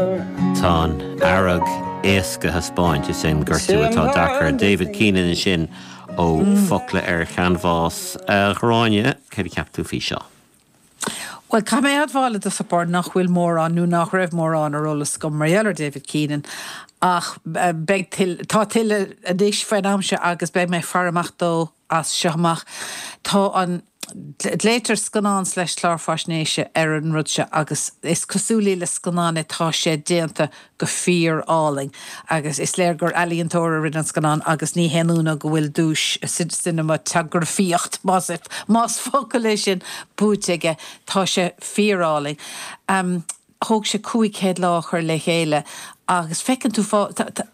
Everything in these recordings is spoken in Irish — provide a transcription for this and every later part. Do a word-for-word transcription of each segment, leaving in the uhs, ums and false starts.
Tá an fhearg éasca a thaispeáint, is é an gortú atá deacair. David Keenan sin ó Focla ar Chanbhás. A Ghráinne, céard a cheap tú faoi seo? Well, caithfidh mé a admháil i dtosach báire nach bhfuil mórán nó nach raibh mórán ar eolas agam mar gheall ar David Keenan ach beidh tá tuilleadh anois faoin am seo agus beidh mé ag faire amach dó as seo amach. Tá an Glaotar scannán slash clár faisnéise ar an rud seo agus is cosúil le scannán é, tá sé déanta go fíor-álainn agus is léir gur ealaíontóir a rinne an scannán agus ní haon ionadh go bhfuil duais cineamatagrafaíocht más más focal é sin buaite aige, tá sé fíor-álainn. Um, thóg sé cúig chéad lá a chur le chéile agus feiceann tú fá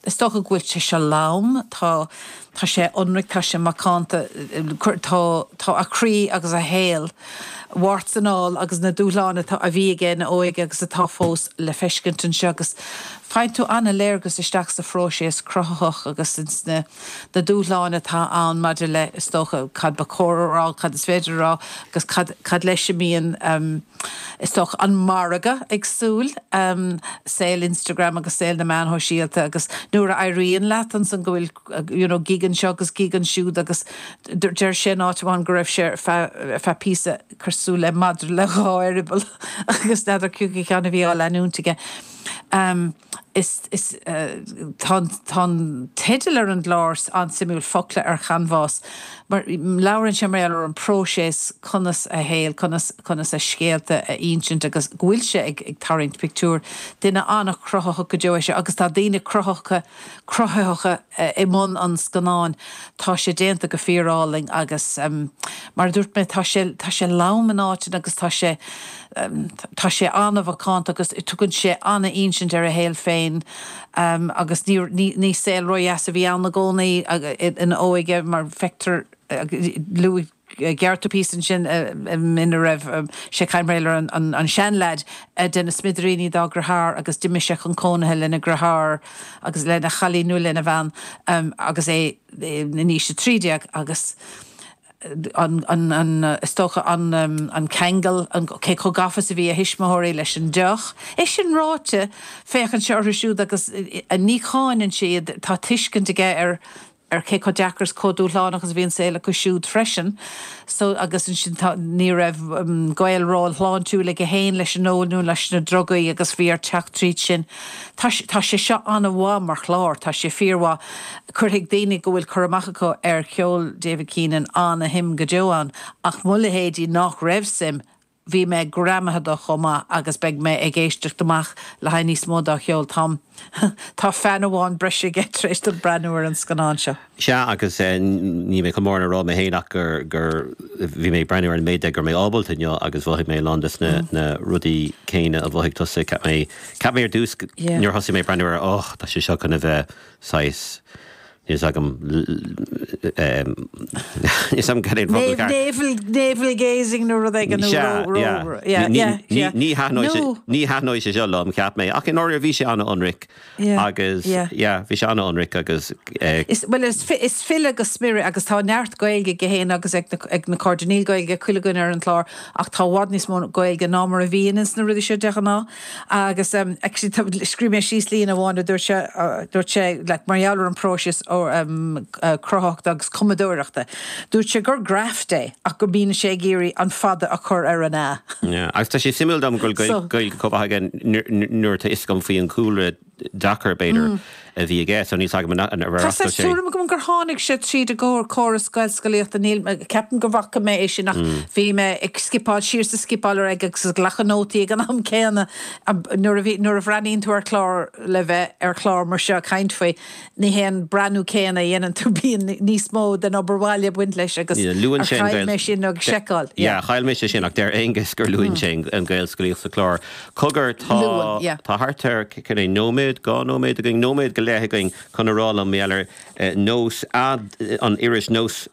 is dócha go bhfuil sé seo lom, tá tá sé ionraic, tá sé macánta, tá tá a chroí agus a shaol warts and all agus na dúshláin atá a bhí aige ina óige agus atá fós le feiscint anseo agus faigheann tú an-léargas isteach sa phróiseas cruthaitheach agus ins na na dúshláin atá ann maidir le is dócha cad ba chóir a rá, cad is féidir a rá agus cad cad leis a mbíonn um, is dócha an margadh ag súil um, saol Instagram agus saol na meán sóisialta agus nuair a éiríonn leat ansan go bhfuil you know, gig anseo agus gig ansiúd agus deir sé in áit amháin go raibh sé feadh píosa cosúil le madra le dhá eireaball agus n'fheadar cúpla ceann a bhí á leanúint aige. Um, is is uh, tá teideal ar an gclár an-suimiúil Focla ar Chanbhás, mar labhrann sé mar ar an próiseas conas a shaol conas conas a scéalta a insint agus go bhfuil sé ag, ag tarraingt pictiúr duine an-chruthaitheach go deo sé agus tá daoine cruthaitheacha cruthaitheacha uh, i mbun an scannáin tá sé déanta go fíorálainn agus um, mar dúirt mé tá sé tá sé lom in áit agus tá sé um, tá sé an-mhacánta agus tugann sé an-insint ar a shaol féin um, agus ní, ní, ní saol ródheas a bhí ann i gcónaí ina óige mar feictear luaigh gearrtú pí sin ina raibh sé caimréir an, an, an seanleaid de na smidiríní dá dheartháir agus d'imigh sé chun cónaithe lena dheartháir agus lena chailín nó lena bhean um, agus é in aois a trí déag agus an, an, an is dócha an, um, an ceangal an cé chomh gafa is a bhí a thuismitheoirí leis an deoch. É sin ráite féachann sé orthu siúd agus ní cháineann siad tá tuiscint aige ar ar cé chomh deacair chomh dúshlánach agus a bhí an saol acu siúd freisin. So agus sin ní raibh um, gaol róshláintiúil aige féin leis an ól nó leis na drugaí agus bhí air teacht tríd sin. Tá tá sé seo an-mhaith mar chlár, tá sé fíormhaith cuirfidh daoine go bhfuil cur amach acu ar cheol David Keenan an-shuim go deo ann ach mo leithéidí nach raibh suim bhí mé greamaithe de chomh maith agus beidh mé ag éisteacht amach le haghaidh níos mó dá cheol Tom. Tá fan amháin breise aige tar éis dom breathnú ar an scannán seo. Sea agus ní mé chomór rá mé féin ach gur gur bhí mé breathnú ar an méid gur mé ábalta inniu agus mhothaigh mé lán des na, mm. na rudaí céanna a mhothaigh tusa ceap mé ceap mé ar dtús nuair thosaigh mé breathnú ar oh tá sé seo chun a bheith saghas Níl agam Navel gazing nó rud éigin Ní thaitneoidh sé seo liom cheap mé ach in áir bhí sé an-ionraic agus bhí sé an-ionraic agus Well is is file go smior agus tá neart Gaeilge aige féin agus ag ag na cairde níl Gaeilge chuile dhuine ar an chlár ach tá i bhfad níos mó Gaeilge ná mar a bhíonn ins na rudaí seo de ghnáth agus um, scríobh mé síos líne amháin dúirt sé dúirt sé le mar gheall ar an próiseas um, uh, cruthaitheachta agus cumadóireachta. Dúirt sé gur graft é ach go mbíonn sé ag iarraidh an fada a chur ar an a. Agus tá sé suimiúil dom go Gaeilge chomh maith nuair tá fhios agam faoi an cúlra deacair b'fhéidir mm. a bhí aige so níl agam Tá tuairim agam gur tháinig sé tríd an gcór córas Gaelscolaíochta níl ceapaim go bhfaca mé é sin ach mm. bhí mé ag scipeáil siar sa scipeáil ar ag agus glacadh nótaí ag an am céanna nuair a bhreathnaíonn tú ar chlár le bheith ar chlár mar seo caint faoi ní hé an breathnú céanna a dhéanann tú bíonn níos mó den obair bhaile ag baint leis agus luann sé chaill mé sin agus seiceáil. Chaill mé sé sin ach deir Aonghus gur luann sé an Ghaelscolaíocht sa chlár. Cogar tá tá thart ar cén nóiméad dhá nóiméad againn nóiméad go leith againn chun a rá liom ar nós an iris nós